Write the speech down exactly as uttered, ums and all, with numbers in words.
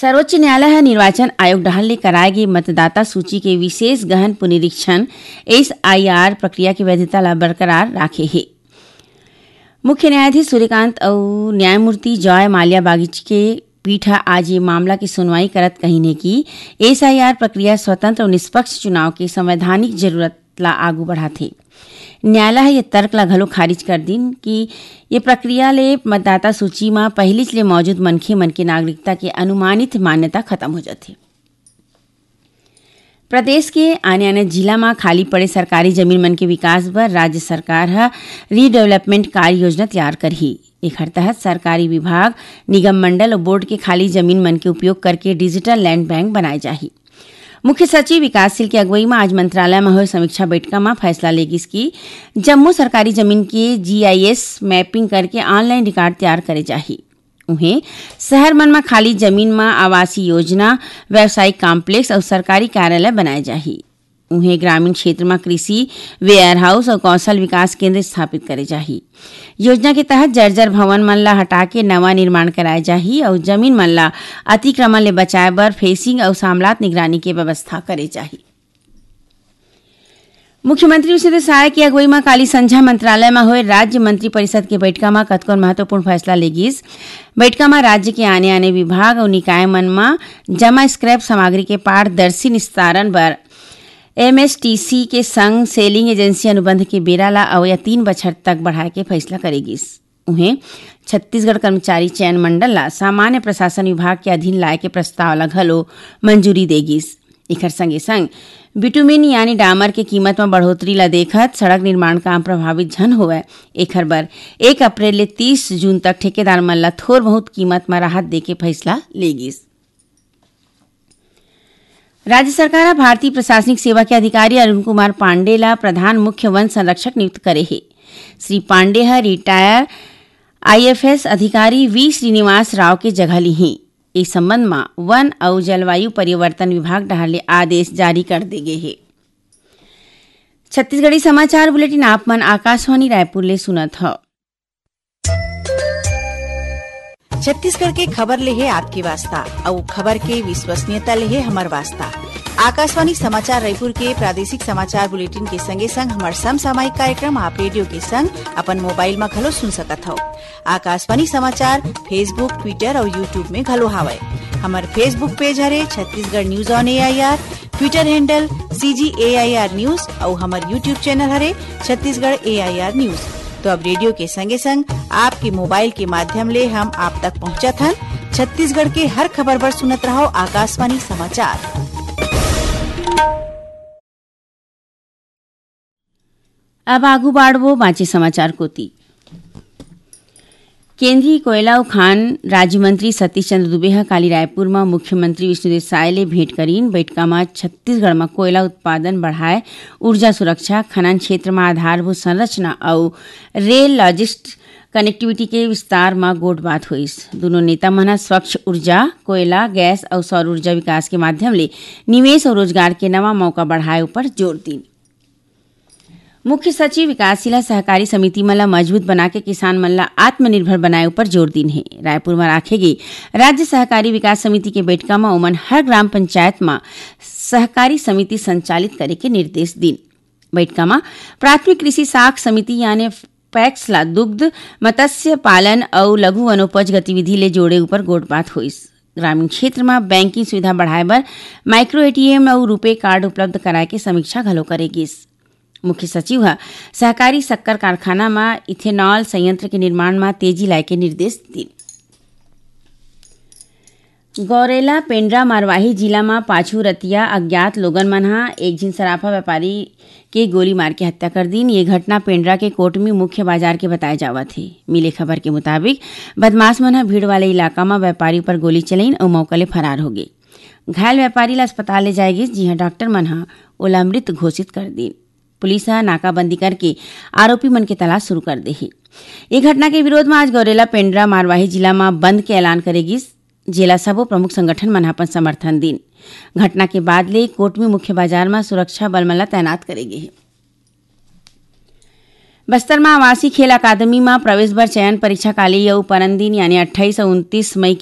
सर्वोच्च न्यायालय ह निर्वाचन आयोग डहार ले कराए गे मतदाता सूची के विशेष गहन पुनरीक्षण, एसआईआर, प्रक्रिया के वैधता ला बरकरार राखे हे। मुख्य न्यायाधीश सूर्यकांत अउ न्यायमूर्ति जॉय माल्या बागची के पीठ ह आज ये मामला के सुनवाई करत कहिन हे कि एसआईआर प्रक्रिया स्वतंत्र अउ निष्पक्ष चुनाव के संवैधानिक जरूरत ला आगू बढ़ाथे। न्यायालय ह ये तर्क ला घलो खारिज कर दिन कि ये प्रक्रिया ले मतदाता सूची म पहिलीच ले मौजूद मनखे मन के नागरिकता के अनुमानित मान्यता खत्म हो जाथे। प्रदेश के आने-आने जिला म खाली पड़े सरकारी जमीन मन के विकास बर राज्य सरकार ह रीडेवलपमेंट कार्य योजना तैयार करही। एखर तहत सरकारी विभाग, निगम मंडल अउ बोर्ड के खाली जमीन मन के उपयोग करके डिजिटल लैंड बैंक बनाए जाही। मुख्य सचिव विकासशील के अगुवई म आज मंत्रालय म होए समीक्षा बैठका म फैसला ले गिस कि जम्मो सरकारी जमीन के जीआईएस मैपिंग करके ऑनलाइन रिकॉर्ड तैयार करे जाही। उहें, शहर मन म खाली जमीन म आवासीय योजना, व्यावसायिक कॉम्प्लेक्स अउ सरकारी कार्यालय बनाए जाही। उहें, ग्रामीण क्षेत्र म कृषि, वेयरहाउस अउ कौशल विकास केंद्र स्थापित करे जाही। योजना के तहत जर्जर भवन मन ला हटा के नवा निर्माण कराए जाही अउ जमीन मन ला अतिक्रमण ले बचाए बर फेंसिंग अउ सामलात निगरानी के व्यवस्था करे जाही। मुख्यमंत्री विष्णुदेव साय के अगुवई म काली संझा मंत्रालय म होए राज्य मंत्री परिषद के बैठका म कतकोन महत्वपूर्ण फैसला ले गिस। बैठका म राज्य के आने-आने विभाग अउ निकाय मन म जमा स्क्रैप सामग्री के पारदर्शी निस्तारण बर एमएसटीसी के संग सेलिंग एजेंसी अनुबंध के बेरा ला अवया तीन बछर तक बढ़ाए के फैसला करे गिस। उहें, छत्तीसगढ़ कर्मचारी चयन मंडल ला सामान्य प्रशासन विभाग के अधीन लाए के प्रस्ताव ला घलो मंजूरी दे गिस। एखर संगे संग बिटुमिन यानी डामर के कीमत म बढ़ोतरी ला देखत सड़क निर्माण काम प्रभावित झन होवय, एखर बर एक अप्रैल ले तीस जून तक ठेकेदार मन ला थोर बहुत कीमत म राहत दे के फैसला ले गिस। राज्य सरकार ह भारतीय प्रशासनिक सेवा के अधिकारी अरुण कुमार पांडे ला प्रधान मुख्य वन संरक्षक नियुक्त करे हे। श्री पांडे ह रिटायर आईएफएस अधिकारी वी श्रीनिवास राव के जगह लीही। ए संबंध म वन अउ जलवायु परिवर्तन विभाग डहार ले आदेश जारी कर दे गे हे। छत्तीसगढ़ी समाचार बुलेटिन आप मन आकाशवाणी रायपुर ले सुनत हव। छत्तीसगढ़ के खबर ले हे आपके वास्ता, अउ खबर के विश्वसनीयता ले हे हमर वास्ता। आकाशवाणी समाचार रायपुर के प्रादेशिक समाचार बुलेटिन के संगे संग हमर समसामयिक कार्यक्रम आप रेडियो के संग अपन मोबाइल म घलो सुन सकत हव। आकाशवाणी समाचार Facebook, Twitter अउ YouTube में घलो हावय। हमर Facebook पेज हरे Chhattisgarh news on AIR, Twitter handle CG AIR news अउ हमर YouTube चैनल हरे छत्तीसगढ़ एआईआर न्यूज। तो अब रेडियो के संगे संग आपके मोबाइल के माध्यम ले हम आप तक पहुंचत हन। छत्तीसगढ़ के हर खबर बर सुनत रहव आकाशवाणी समाचार। अब आगू बाढ़बो बांचे समाचार कोती। केंद्रीय कोयला अउ खान राज्य मंत्री सतीश चंद्र दुबे ह काली रायपुर म मुख्यमंत्री विष्णुदेव साय ले भेंट करीन। बइठका म छत्तीसगढ़ म कोयला उत्पादन बढ़ाए, ऊर्जा सुरक्षा, खनन क्षेत्र म आधारभूत संरचना अउ रेल लॉजिस्ट कनेक्टिविटी के विस्तार म गोठबात होइस। दूनों नेता मन ह स्वच्छ ऊर्जा, कोयला, गैस अउ सौर ऊर्जा विकास के माध्यम ले निवेश अउ रोजगार के नवा मौका बढ़ाए ऊपर जोर दीन। मुख्य सचिव विकासशील ह सहकारी समिति मन ल मजबूत बनाके किसान मन ल आत्मनिर्भर बनाए ऊपर जोर दीन हे। रायपुर म राखे गे राज्य सहकारी विकास समिति के बइठका म ओमन हर ग्राम पंचायत म सहकारी समिति संचालित करे के निर्देश दीन। बइठका म प्राथमिक कृषि साख समिति यानी पैक्स ला दुग्ध, मत्स्य पालन अउ लघु वनोपज गतिविधि ले जोड़े ऊपर गोठबात होइस। ग्रामीण क्षेत्र म बैंकिंग सुविधा बढ़ाए बर माइक्रो एटीएम अउ रुपे कार्ड उपलब्ध कराए के समीक्षा घलो करे गिस। मुख्य सचिव ह सहकारी शक्कर कारखाना म इथेनॉल संयंत्र के निर्माण म तेजी लाए के निर्देश दीन। गौरेला पेंड्रा मरवाही जिला म पाछू रतिया अज्ञात लोगन मन ह एक झिन सराफा व्यापारी के गोली मार के हत्या कर दीन। ये घटना पेंड्रा के कोटमी मुख्य बाजार के बताए जावत हे। मिले खबर के मुताबिक, बदमाश मन ह भीड़ वाले इलाका म व्यापारी ऊपर गोली चलाइन अउ मौका ले फरार हो गे। घायल व्यापारी ला अस्पताल ले जाए गिस, जिहां डॉक्टर मन ह ओला मृत घोषित कर दीन। पुलिस ह नाकाबंदी करके आरोपी मन के तलाश शुरू कर दे हे। ये घटना के विरोध म आज गौरेला पेंड्रा मरवाही जिला म बंद के ऐलान करे गिस, जेला सबो प्रमुख संगठन मन ह अपन समर्थन दीन। घटना के बाद ले कोटमी मुख्य बाजार म सुरक्षा बल मन ल तैनात करे गे हे। बस्तर म आवासीय खेल अकादमी म प्रवेश बर चयन परीक्षा काली अउ परन दिन यानी अट्ठाईस अउ उनतीस मई के